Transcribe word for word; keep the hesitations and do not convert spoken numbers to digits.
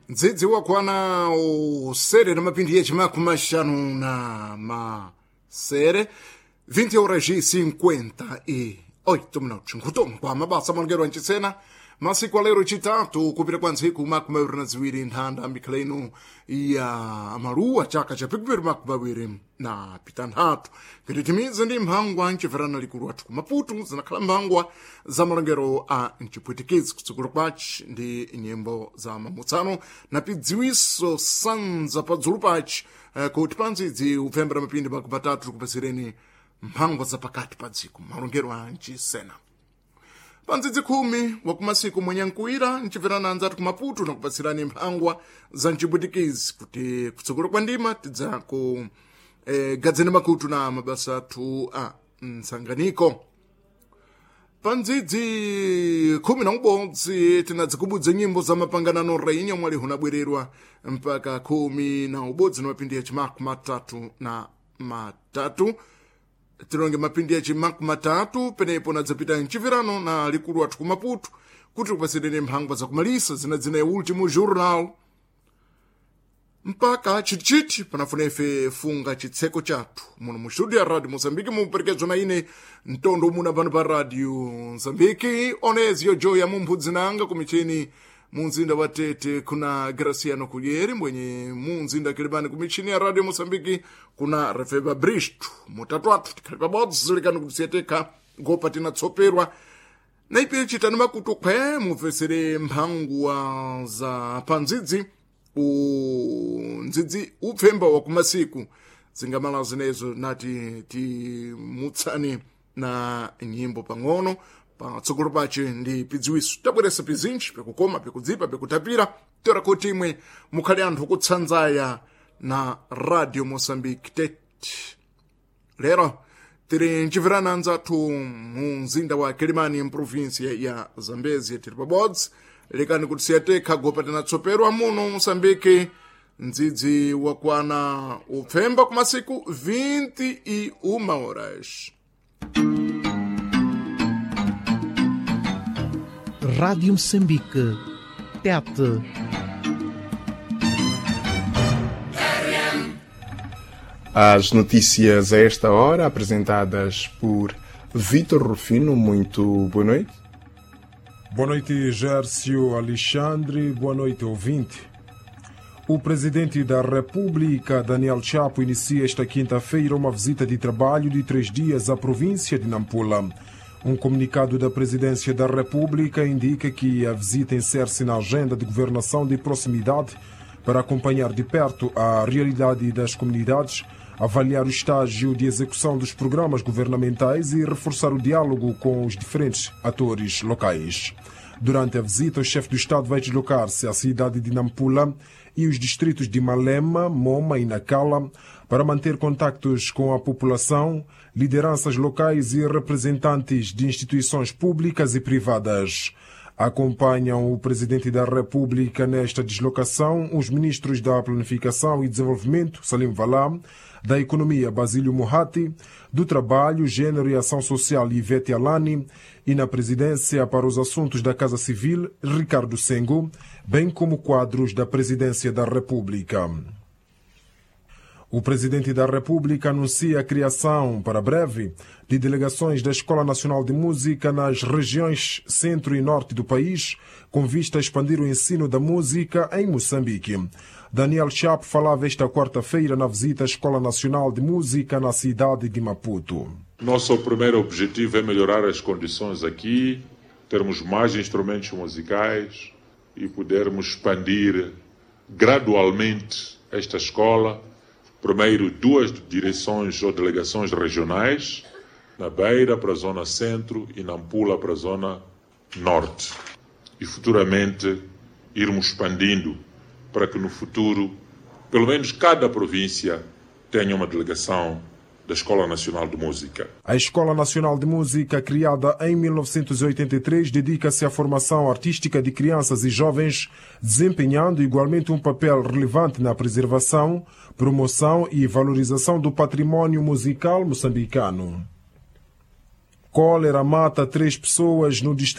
Ndzidzi wakwana usere na mapindi yechimakumi maxanu na masere, vinte horas e cinquenta e oito minutos. Nkutoma kwa mabasa malongero anchisena masiku alero chitatu kupita kwa ntsiku makumi awiri na ziwiri nthanda mikhala ino ya maluwa chaka cha pikupiri makumi awiri na pitanthatu, kititimize ndi mphangwa nchiverana likulu athu ku Maputo zinakhala mphangwa za malongero a mchipwitikizi. Kutsogolo kwaci ndi nyimbo za mamutsano na pidziwiso sanza padzulu paci eh, kuti panzidzi upfembera mapindi makumi atatu tikupasireni mphangwa za pakati pa dziko malongero a mchisena. Pandzidzi khumi wakumasiku mwenyankuwira nchibverana anzati kumaputo nakupatsirani mphangwa za mchipwitikizi kuti kutsogolo kwa ndima tidza ku eh, gadzeni makutu na mabasa athu a mtsanganiko. Pandzidzi khumi na ubodzi tinadzikubudza nyimbo za mapanganano rainha mwali hunabwererwa mpaka khumi na ubodzi na mapindi ya chimakumi matatu na matatu tilonge mapindi ya chimakumi matatu. Penepo nadzapita mchipirano na likulu athu kumaputo kuti kupasireni mphangwa zakumalisa zinadzina ya Último Journal mpaka chitichiti panafuna ife funga chitseko chathu muno mu studio ya Radio Moçambique muperekezwa na ine mtondo muna pano pa Radio Moçambique Onezio Joya mumphudzinanga kumichini munzinda wa Tete kuna Graciano Kulyeri mwenye munzinda Kilimani kumichini ya Radio Moçambique kuna Refeba Bristo. Mutatu athu tikhali pabodzi likani kutisiyeteka ngopa tinatsoperwa na ipi chitani makutu khwe mubvesere mphangwa za pandzidzi undzidzi upfemba wa kumasiku zingamala zinezo nati timutsani na nyimbo pang'ono patsogolo pace ndi pidziwiso tabweresa pizinji pikukoma pikudzipa pikutapira tora kuti imwe mukhale anthu kutsanzaya na Radio Moçambique Tete. Lero tiri mchipirana anzathu mu mzinda wa Kilimani mprovinsia ya Zambezia tiri pabodzi lekani kuti siyatekha gopa tinatsoperwa muno Moçambique ndzidzi wakwana upfemba kumasiku vinte e uma horas. Rádio Moçambique. Tete. As notícias a esta hora, apresentadas por Vitor Rufino. Muito boa noite. Boa noite, Gércio Alexandre. Boa noite, ouvinte. O presidente da República, Daniel Chapo, inicia esta quinta-feira uma visita de trabalho de três dias à província de Nampula. Um comunicado da Presidência da República indica que a visita insere-se na agenda de governação de proximidade para acompanhar de perto a realidade das comunidades, avaliar o estágio de execução dos programas governamentais e reforçar o diálogo com os diferentes atores locais. Durante a visita, o chefe do Estado vai deslocar-se à cidade de Nampula e os distritos de Malema, Moma e Nacala para manter contactos com a população, lideranças locais e representantes de instituições públicas e privadas. Acompanham o presidente da República nesta deslocação os ministros da Planificação e Desenvolvimento, Salim Valam, da Economia, Basílio Muhati, do Trabalho, Gênero e Ação Social, Ivete Alani, e na presidência para os assuntos da Casa Civil, Ricardo Sengo, bem como quadros da Presidência da República. O presidente da República anuncia a criação, para breve, de delegações da Escola Nacional de Música nas regiões centro e norte do país, com vista a expandir o ensino da música em Moçambique. Daniel Chapo falava esta quarta-feira na visita à Escola Nacional de Música na cidade de Maputo. Nosso primeiro objetivo é melhorar as condições aqui, termos mais instrumentos musicais e podermos expandir gradualmente esta escola. Primeiro, duas direções ou delegações regionais, na Beira para a zona centro e Nampula para a zona norte. E futuramente irmos expandindo para que no futuro, pelo menos cada província tenha uma delegação da Escola Nacional de Música. A Escola Nacional de Música, criada em mil novecentos e oitenta e três, dedica-se à formação artística de crianças e jovens, desempenhando igualmente um papel relevante na preservação, promoção e valorização do patrimônio musical moçambicano. Cólera mata três pessoas no distrito